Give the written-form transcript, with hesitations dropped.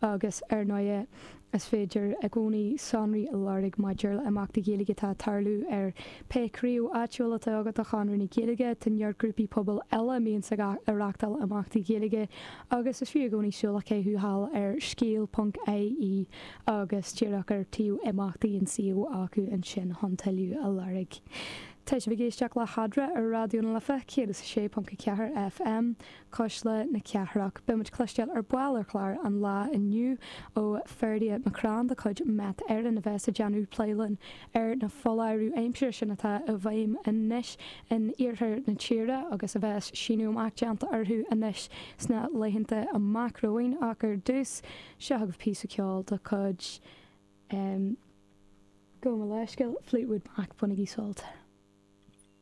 Agus ar ndóighe, is féidir i gcónaí sonraí a lorg maidir le imeachtaí Gaeilge atá ag tarlú ar pé craobh áitiúil atá agat de Chonradh na Gaeilge. Tá neart grúpaí pobail eile a mbíonns ag reachtáil imeachtaí Gaeilge agus is fiú i gcónaí súil a chaitheamh thall ar scéal ponc ie agus díreach ar taobh imeachtaí an suíomh acu ansin chun tuilleadh a lorg. Tá sibh ag éisteacht le hEadra ar Raidió na Life 106.4 FM, Cuisle na Cathrach. Beidh muid cloisteáil ar ball ar chlár an lae inniu ó Ferdia McCrann de chuid Met Éireann a bheas ag déanamh plé linn ar na foláirimh aimsire sin atá i bhfeidhm anois in iarthar na tíre agus a bheas síneadh amach déanta orthu anois sna laethanta amach romhainn. Ach ar dtús, seo agaibh píosa ceoil de chuid, gabh mo leithscéal, Fleetwood Mac, bainigí sult.